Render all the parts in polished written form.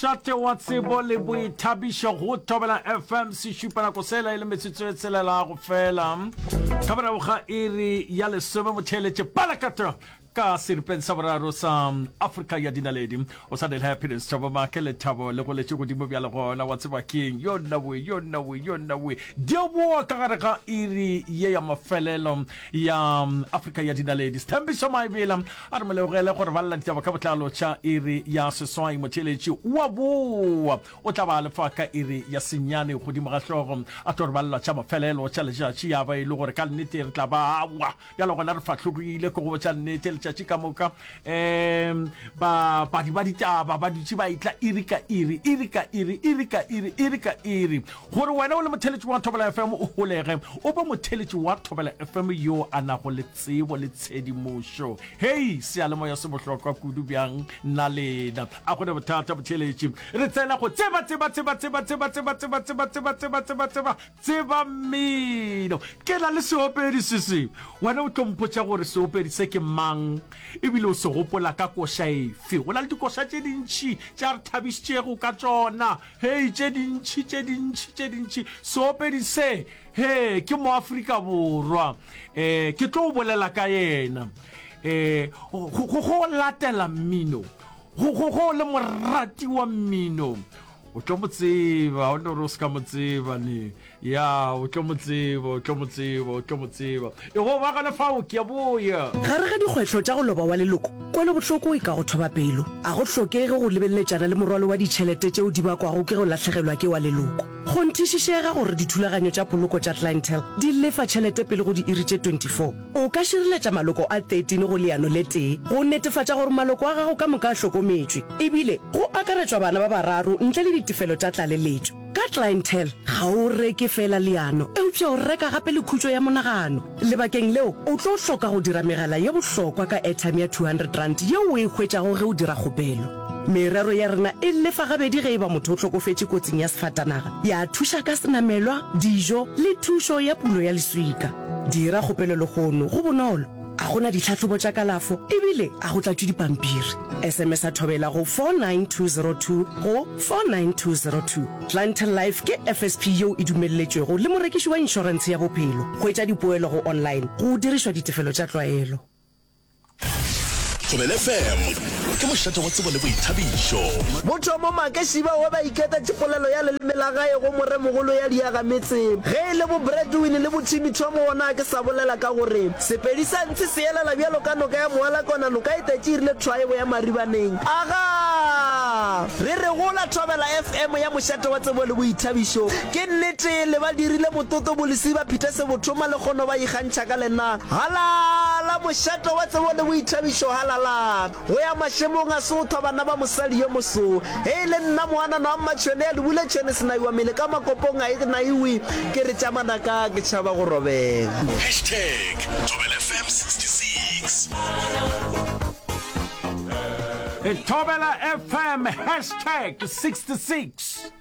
Mošate wa tsebo le boithabišo go Thobela FM sešupa nako sela e le metsotso e tshelela go fela ka morago ga iri ya lesome motheeletše palakata ka seripeng sa boraro sa Afrika ya dinaledi. O sa le Happiness Thabo Make lethabo le goletše godimo bjale gona wa tseba keng yo nna we yo nna we yo nna we di boa ka gare ga iri ye ya mafelelo ya Afrika ya dinaledi. Sthembiso Maebela A re mo lebogele gore balela ditaba ka botlalo tša iri ya seswai. Motheeletši wa boa o tla ba a lefa ka iri ya senyane godimo ga hlogo a tlo re balela tša mafelelo tša letšatši ya ba e le gore ka nnete re tla ba awa bjalo gona re fahlogile ke go botša nnete letšatši ka moka um babadi ba ditaba ba dutše ba etla iri ka iri iri ka iri iri ka iri iri ka iri gore wena o le motheeletši wa Thobela FM o holege o be motheeletši wa Thobela FM yo a nago le tsebo le tshedimošo. Hei, seyalemoya se bohlokwa kudu bjang na lena? A go ne bothata, botheeletši. Re tsena go tseba, tseba, tseba, tseba, tseba, tseba, tseba, tseba, tseba, tseba, tseba, tseba, tseba mmino. Ke na le seopedi se se. Wena o tlo mpotša gore seopedi se ke mang, ebile o se gopola ka koša efe. Go na le dikoša tše dintši tše a re thabišitšego ka tšona. Hei, tše dintši, tše dintši, tše dintši. Seopedi se, hee, ke Moafrika Borwa. Eh, ke tlo bolela ka yena. Eh, go, go, go latela mmino, go, go, go le morati wa mmino, o tlo mo tseba, o no re o se ka mo tseba ne. Ya, o tlo mo tseba, o tlo mo tseba, o tlo mo tseba. E go ba gona fao, ke a boya. Gare ga dikgwehlo tša go loba wa leloko, kwelobohloko e ka go thoba pelo. A go hlokege go lebeleletšana le morwalo wa ditšhelete tšeo di bakwago ke go lahlegelwa ke wa leloko. Kgonthišišega gore dithulaganyo tša poloko tša Clientele di lefa tšhelete pele go diiri tše 24. O ka šireletša maloko a 13 go leano le tee go netefatša gore maloko a gago ka moka a hlokometšwe, ebile go akaretšwa bana ba bararo ntle le ditefelo tša tlaleletšo. Ka Clientele, ga o reke feela leano, eupša o reka gape le khutšo ya monagano. Lebakeng leo, o tlo hloka go dira megala ye bohlokwa ka airtime ya R200 yeo o e hwetšago ge o dira kgopelo. Merero ya rena e lefa gabedi ge e ba motho o hlokofetše kotsing ya sefatanaga, ya thuša ka senamelwa, dijo le thušo ya pulo ya leswika. Dira kgopelo lehono, go bonolo, a go na ditlhahlobo tša kalafo ebile a go tlatšwe dipampiri. SMS-a Thobela go 49202 go 49202. Clientele Life ke FSP yeo e dumelletšwego le morekiši wa inšorentshe ya bophelo. Hwetša dipoelo go online go dirišwa ditefelo tša tlwaelo. Thobela FM ke mošate wa tsebo le boithabišo. Mothomo make šiba wa ba iketa tše polelo ya leleme la gae go moremogolo ya diaga metse. Ge e le bo Bradwin le bo Timmy Thomo wona a ke sa bolela ka gore Sepedi sa ntshe se elela bjalo ka noka ya Moalakona noka e tetše e rile thwaebo ya maribaneng. Agaa! Re re gola Thobela FM ya mošate wa tsebo le boithabišo. Ke nnete le ba dirile mototo bo Lesiba Peter Sebothoma le kgono ba ikgantšha ka lena. Halala mošate wa tsebo le boithabišo halala! Go ya mašemong a sothwa bana ba mosadi yo moso. Ge e le nna moanana wa Mmatšhwene ya lebule tšhwene senaiwa mele ka makopong a e naiwe ke re tša manaka ke tšhaba go robega. Hashtag Thobela FM 66. Thobela FM hashtag 66.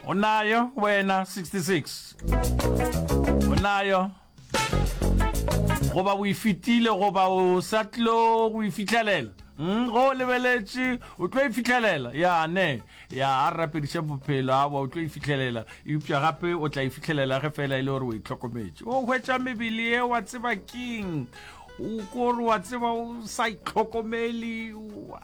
O nayo wena 66? O nayo? Goba o e fetile goba o sa tlo go e fihlelela? Mm, go o lebeletše o tlo e fihlelela? Ya ne, ya a re rapediše bophelo awa o tlo e fihlelela, eupša gape o tla e fihlelela ge fela e le gore o itlhokometše. O hwetša mebele ye wa tseba keng? O kore wa tseba o sa itlhokomele,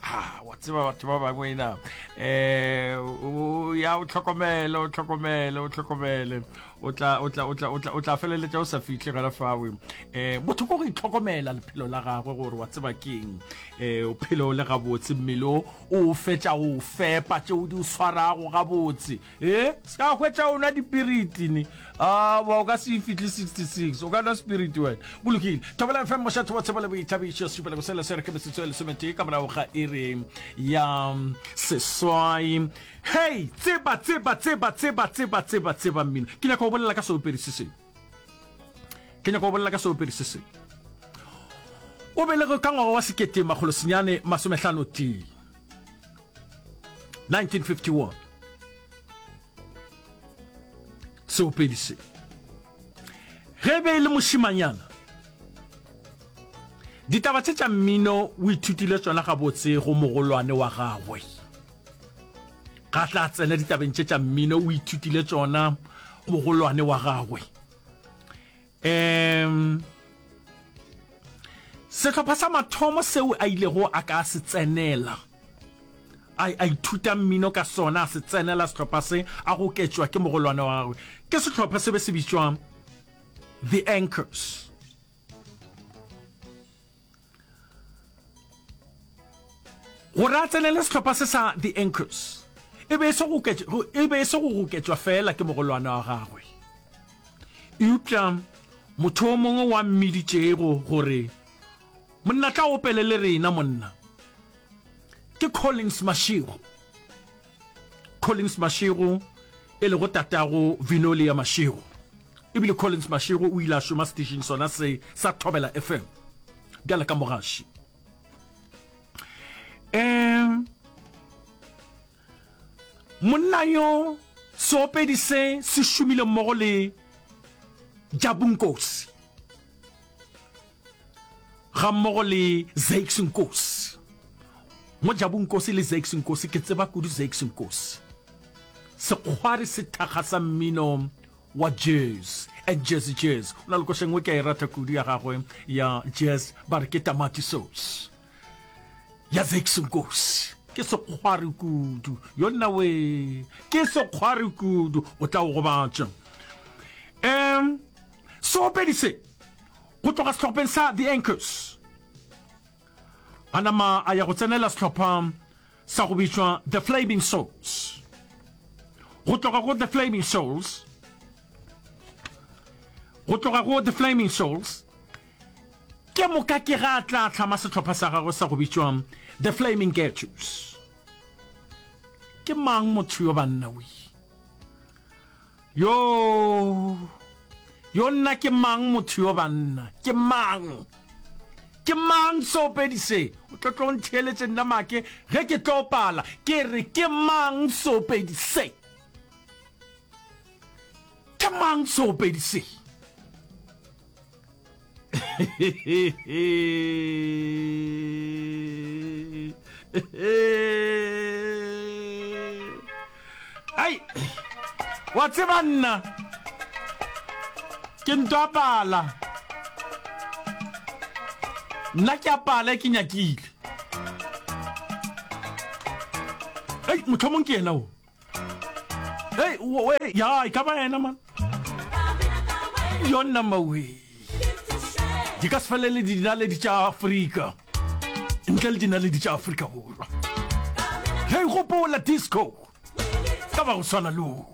ah, wa tseba batho ba bangwe na. Eh, o ya o tlhokomele, o tlhokomele, o tlhokomele. O tla o tla o tla o tla o tla feleletša o sa fihle gona fawe. Eh, motho ko go itlhokomela lephelo la gagwe gore wa tseba keng. Eh, o phele o le gabotse, mmele o o fetša o fepa tšeo di o swarago gabotse. Eh, se ka hwetša o nwa dipiriti ne. Ah, wa o ka se fihle 66. O ka nwa spirit wena. Go lokile. Thobela FM mošate wa tsebo le boithabišo sepela go sela se re ke metsotso e lesometee ka morago ga iri ya seswai. Hei, tseba, tseba, tseba, tseba, tseba, tseba, tseba mmino. Ke nyaka go bolela ka seopedi se sengwe. Ke nyaka go bolela ka seopedi se sengwe. O belegwe ka ngwaga wa sekete makgolo senyane masomehlano tee. 1951. Seopedi se. Ge e be e le mošimanyana, ditaba tše tša mmino o ithutile tšona gabotse go mogolwane wa gagwe. Ga tla tsena ditabeng tše tša mmino, o ithutile tšona mogolwane wa gagwe. Um sehlopha sa mathomo seo a ilego a ka se tsenela, a, a ithuta mmino ka sona, a se tsenela sehlopha se, a goketšwa ke mogolwane wa gagwe, ke sehlopha se be se bitšwa The Anchors. Gore a tsenele sehlopha se sa The Anchors, e be e se go e be e se go goketšwa feela ke mogolwane wa gagwe, eupša motho o mongwe wa mmiditšego gore, Monna tla opele le rena, monna. Ke Collins Mashego. Collins Mashego e lego tatago Vinolia Mashego. Ebile Collins Mashego o ile a šoma setišing sona se sa Thobela FM bjale ka mogaši. Um monna yo seopedi se se šomile mmogo le Jabu Nkosi. Gammogo le Zakes Nkosi. Mo Jabu Nkosi le Zakes Nkosi, ke tseba kudu Zakes Nkosi. Sekgwari sethakga sa mmino wa jazz and jazzy jazz. O na le koša e nngwe ke a e rata kudu ya gagwe ya jazz, ba re ke Tamati Sauce. Ya Zakes Nkosi. Ke sekgwari kudu. Yonna wee, ke sekgwari kudu. O tla o gobatša. Um, seopedi se Go tloga sehlopheng sa The Anchors, a nama a ya go tsenela sehlopha sa go bitšwa The Flaming Souls. Go tloga go The Flaming Souls, go tloga go The Flaming Souls, ke moka ke ga a tla hlama sehlopha sa gagwe sa go bitšwa The Flaming Ghettos. Ke mang motho yo banna we? Yo, yo nna ke mang motho yo banna? Ke mang? Ke mang seopedi se? O tlo tlo ntheeletše nna make ge ke tlo pala. Ke re ke mang seopedi se? Ke mang seopedi se? Ai, wa tseba nna ke nto a pala nna ke a pala e ke nyakile ei mohlomong ke yena o Hey, wait, ya, e ka ba yena man. Yona mawe. Di ka se felele dinaledi tša Afrika. Ntle le dinaledi tša Afrika Borwa. Hey, gopola disco. Ka ba go swana le o.